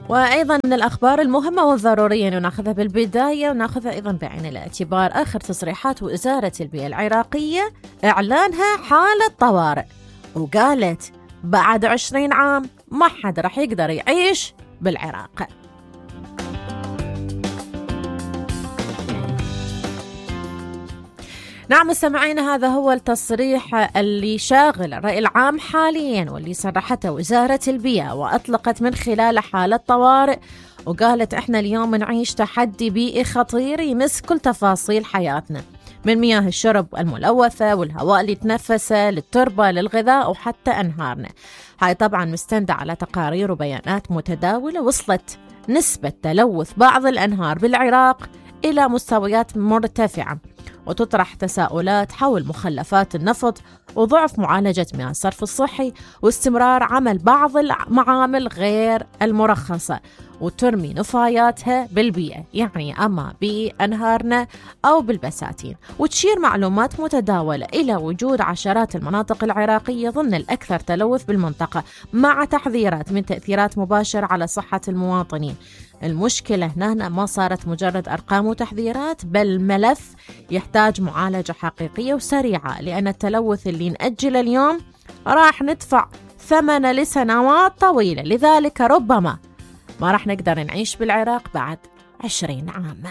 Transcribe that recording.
وأيضا من الأخبار المهمة والضرورية أن نأخذها بالبداية ونأخذها أيضا بعين الاعتبار آخر تصريحات وزارة البيئة العراقية إعلانها حالة طوارئ، وقالت بعد 20 عام ما حد رح يقدر يعيش بالعراق. نعم مستمعين، هذا هو التصريح اللي شاغل الرأي العام حاليا واللي صرحته وزارة البيئة وأطلقت من خلال حالة طوارئ، وقالت احنا اليوم نعيش تحدي بيئي خطير يمس كل تفاصيل حياتنا، من مياه الشرب الملوثة والهواء اللي تنفسه للتربة للغذاء وحتى أنهارنا. هاي طبعا مستندة على تقارير وبيانات متداولة وصلت نسبة تلوث بعض الأنهار بالعراق إلى مستويات مرتفعة، وتطرح تساؤلات حول مخلفات النفط وضعف معالجة مياه الصرف الصحي واستمرار عمل بعض المعامل غير المرخصة وترمي نفاياتها بالبيئة، يعني أما بأنهارنا أو بالبساتين. وتشير معلومات متداولة إلى وجود عشرات المناطق العراقية ضمن الأكثر تلوث بالمنطقة، مع تحذيرات من تأثيرات مباشرة على صحة المواطنين. المشكلة هنا ما صارت مجرد أرقام وتحذيرات، بل ملف يحتاج معالجة حقيقية وسريعة، لأن التلوث اللي نأجله اليوم راح ندفع ثمنه لسنوات طويلة، لذلك ربما ما راح نقدر نعيش بالعراق بعد 20 عام.